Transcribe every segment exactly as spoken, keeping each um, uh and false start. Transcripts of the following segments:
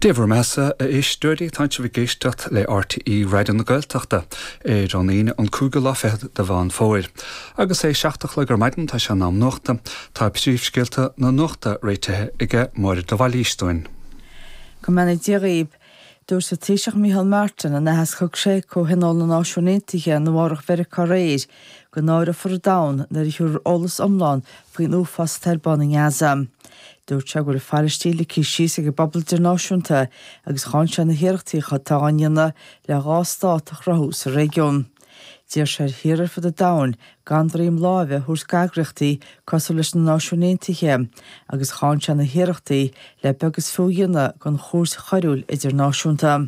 Dia bhur mbeatha a éisteoirí tá sibh ag éisteacht le RTÉ Raidió na Gaeltachta ar an Aoine an cúigiú lá fichead de Mheán Fómhair. Agus é seacht a chlog ar maidin tá sé in am nuachta tá príomhscéalta na nuachta réitithe ag Máire de Bhailís dúinn. Go mbeannaí Dia dhaoibh Dúirt an Taoiseach Micheál Martin in aitheasc a thug sé Comhthionól na Náisiún Aontaithe in Nua-Eabhrac Mheiriceá aréir go náireofar an domhan nuair a thiúrfar eolas iomlán faoin uafás atá ar bun i nGaza. Dúirt sé go bhfuil Palaistín ligthe síos ag an bpobal idirnáisiúnta agus cháin sé na hiarrachtaí atá á ndéanamh le dhá stát a chruthú sa réigiún. D'iarr sé ar thíortha ar fud an domhain gan droim láimhe a thabhairt d'eagraíochtaí cosúil leis na Náisiúin Aontaithe agus cháin sé na hiarrachtaí le beag is fiú a dhéanamh den chúirt choiriúil idirnáisiúnta.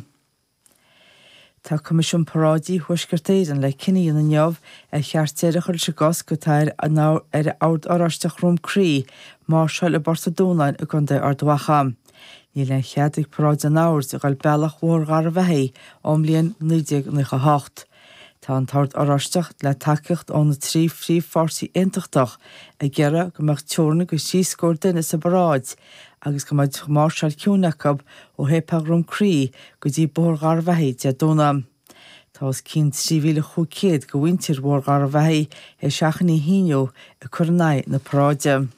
Tá Coimisiún Paráidí Thuaisceart Éireann le cinneadh a dhéanamh inniu ar cheart deireadh a chur leis an gcosc atá ar ar Ord Oráisteach Dhroim Crí máirseáil i bPort an Dúnáin i gContae Ard Mhacha. Níl aon chead ag paráid an Oird a ghabháil bealach Bhóthar Gharbhachaidh ón mbliain naoi déag nócha hocht. Tá an tOrd Oráisteach le tacaíocht ó na trí phríomhpháirtí aontachtach ag iarraidh go mbeadh teorainn go trí scór duine sa bparáid agus go mbeadh máirseáil ciúin acu ó Shéipéal Dhroim Crí go dtí Bóthar Gharbhachaidh Dé Domhnaigh. Tá os cionn trí mhíle chúig chéad de mhuintir Bhóthar Gharbhachaidh théis achainí a shíniú ag cur in aghaidh na paráide.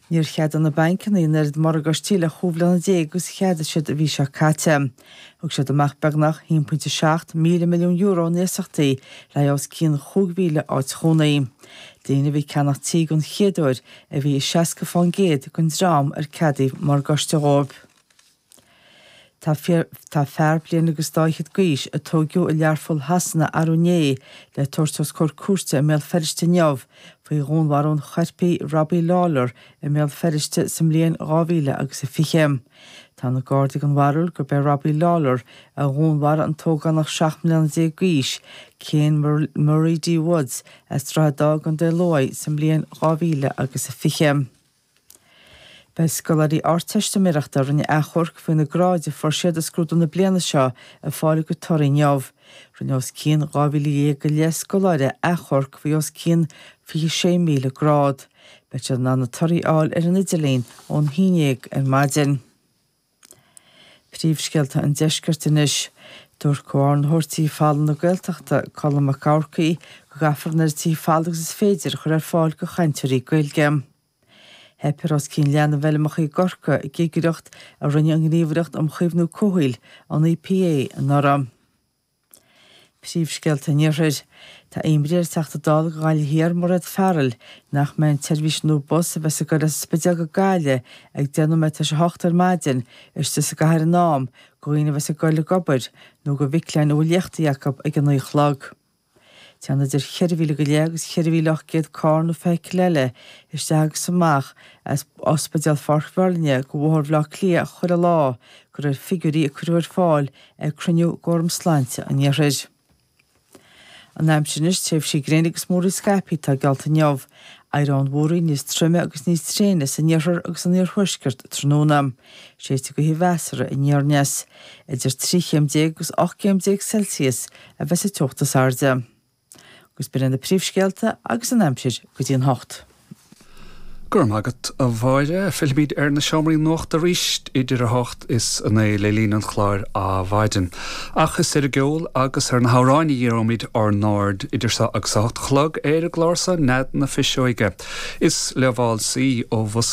Níor cheadaigh na bancanna an oiread morgáistí le chúig bhliana déag agus a cheadaigh siad an mhí seo caite. Thug siad amach beagnach haon pointe seacht míle milliún euro in iasachtaí le os cionn chúig mhíle áit chónaí. Daoine a bhí ag ceannach tí den chéad uair a bhí i seasca faoin gcéad den dream ar ceadaíodh morgáiste dhóibh. Tá tá fear bliain agus dá fhichead d'aois a tógadh i Learpholl Shasana arú inné le tabhairt os comhair cúirte i mBéal Feirste inniu faoi dhúnmharú an choirpigh Robbie Lawler i mBéal Feirste sa mbliain dhá mhíle agus a fiche. Tá na Gardaí den bharúil gurb é Robbie Lawler a dhúnmharaigh an t-ógánach seacht mbliana déag d'aois, Cian Murray D. Woods as Droichead Átha i gContae Lú sa mbliain dhá mhíle agus a fiche. Beidh scoláirí Ardteistiméireachta a rinne achomharc faoi na gráid a fuair siad i scrúdú na bliana seo ag fáil a gcuid torthaí inniu. Rinne os cionn dhá mhíle dhéag go leith scoláire achomharc faoi os cionn fiche sé míle grád. Beidh siad in ann na torthaí a fháil ar an idirlíon ón haon déag ar maidin. Príomhscéalta an deiscirt anois. Dúirt Comhordaitheoir Tithe Folmha na Gaeltachta Colm Mac Eachmharcaigh go gcaithfear an oiread tithe folmha agus is féidir a chur ar fáil do chainteoirí Gaeilge. Theip ar os cionn leath na bhfeilmeacha i gCorcaigh i gcigireacht a rinne an Ghníomhaireacht um Chaomhnú Comhshaoil an EPA anuraidh. Príomhscéalta an Iarthair. Tá imní ar an Teachta Dála do Ghaillimh Thiar Mairéad Farrell nach mbeidh an tseirbhís nua bus a bheas ag dul as an Spidéal go Gaillimh ag deich nóiméad tar éis a hocht ar maidin istigh sa gcathair in am do dhaoine a bheas ag dul ag obair nó do mhic léinn a bhfuil léachtaí acu ag a naoi a chlog. Téann idir cheithre mhíle go leith agus cheithre mhíle ocht gcéad carr nó feithicil eile isteach agus amach as Ospidéal Pháirc Mheirlinne go Bhóthar Bhaile Átha Cliath chuile lá de réir figiúirí a cuireadh ar fáil ag cruinniú d'Fhóram Sláinte an Iarthair. An aimsir anois tréimhsí gréine agus múraíl scaipthe atá geallta inniu. Éireoidh an mhúraíl níos troime agus níos tréine san iarthar agus san iarthuaisceart tráthnóna. Séidfidh gaoth mheasartha aniar aneas. Idir trí chéim déag agus ocht gcéim déag Celsius a bheas an teocht is airde. Agus b'in na príomhscéalta agus an aimsir go dtí an hocht. Go raibh maith agat a Mháire, fillfimid ar na seomraí nuachta arís idir a hocht is a naoi le linn an chláir Adhmhaidin. Ach is ar an gceol agus ar na hamhráin a dhíreoimid ár n-aird idir seo agus a hocht a chlog ar an gclár seo Nead na Fuiseoige. Is le válsaí ó Bhus